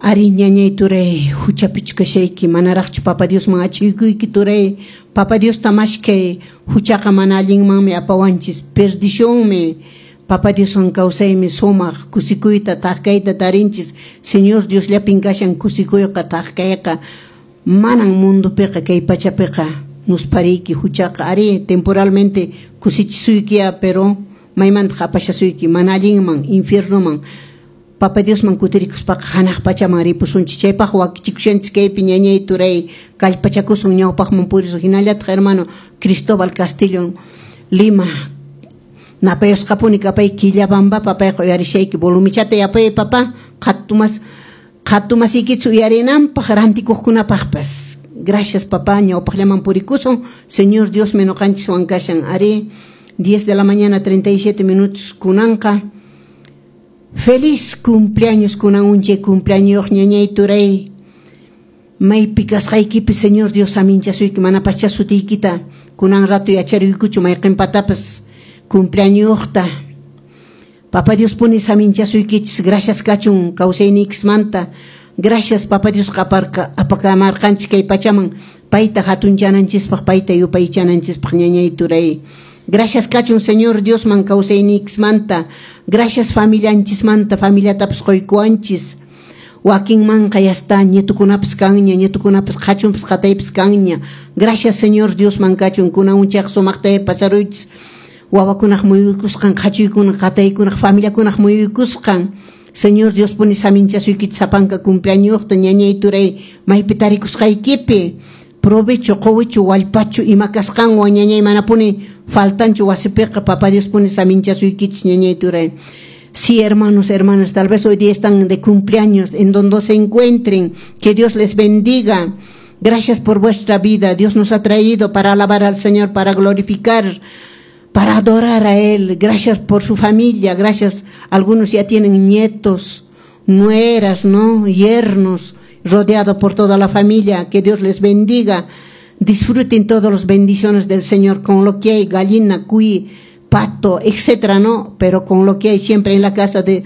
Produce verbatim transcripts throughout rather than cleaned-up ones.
Ari ñañay turay huchapichu kashayki manaraqchu Papa Diosman achiykuyki turay Papa Diosta mashkay huchaqa mana allinmanmi apawanchis perdicionmi Papa Dioswan kawsaymi sumaq kusikuyta thak-kayta tarinchis Señor Diosllapin kashan kusikuyqa thak-kayqa manan mundupiqa kay pachapiqa nuspariyki huchaqa ari temporalmente kusichisuykiya pero maymantaq apashasuyki mana allinman infiernoman Papa Diosman kutirikuspaqa hanaq pachaman ripusunchis chaypaq wakichikushanchis kaypi ñañay turay kallpachakusun ñawpaqman purisun hinallataq hermano Cristóbal Castillo Lima napayusqapuni kapay Quillabambapa payqa uyarishayki volumichata yapay papá qhatumas qhatumasiykichis uyarinanpaq rantikuqkunapaqpas gracias papá ñawpaqllaman purikusun Señor Diosmi ñuqanchiswan kashan ari diez de la mañana treinta y siete minutos kunanqa feliz cumpleaños kunan unchay cumpleaños ñañay turay maypi kasqaykipi Señor Dios aminchasuyki manapaschá sutiykita kunan rato yacharuykuchu mayqinpatapas cumpleañosta Papa Dios puni saminchasuykichis gracias kachun kawsayniykismanta gracias Papa Dios qaparqa apakamarqanchis kay pachaman payta hatunchananchispaq payta yupaychananchispaq ñañay turay gracias kachun Señor Diosman kawsayniykismanta gracias familianchismanta familiatapas quykuwanchis wakinmanqa ya está nietukunapas kanña nietukunapas qhachunpas qataypas kanña gracias Señor Diosman kachun kunan unchayqa sumaqta pasaruychis wawakunaq muyuykusqan qhachuykuna qataykunaq familiakunaq muyuykusqan Señor Dios puni saminchasuykichis sapanka cumpleañosta ñañay turay maypi tarikusqaykipi provecho quwichu wallpachu ima kasqanwan ñañay manapuni faltanchu wasipiqa Papa Dios puni saminchasuykichis ñañay turay. Sí, hermanos, hermanas, tal vez hoy día están de cumpleaños, en donde se encuentren, que Dios les bendiga. Gracias por vuestra vida. Dios nos ha traído para alabar al Señor, para glorificar, para adorar a Él. Gracias por su familia. Gracias. Algunos ya tienen nietos, nueras, ¿no? Yernos, rodeado por toda la familia. Que Dios les bendiga. Disfruten todas las bendiciones del Señor con lo que hay, gallina, cuy, pato, etcétera, ¿no? Pero con lo que hay siempre en la casa de,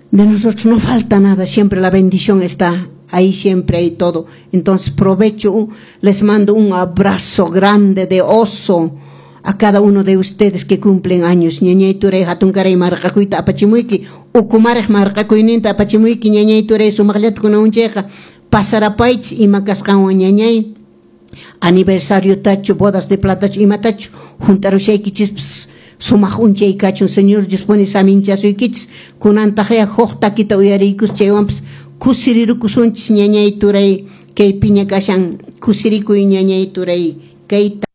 de nosotros no falta nada, siempre la bendición está ahí, siempre hay todo. Entonces, provecho, les mando un abrazo grande de oso a cada uno de ustedes que cumplen años. Ñañay turay hatunkaray marqakuyta apachimuyki, ukumaraq marqakuyninta apachimuyki ñañay turay sumaqllata kunan unchayqa pasarapaychis ima kasqanwan ñañay aniversario tachu, bodas de platachu, imatachu juntarushaykichispis sumaq unchay kachun Señor Dios puni saminchasuykichis kunantaqya huk takita uyariykus chaywanpas kusirirukusunchis ñañay turay kay piña kashan kusirikuy ñañay turay kayta.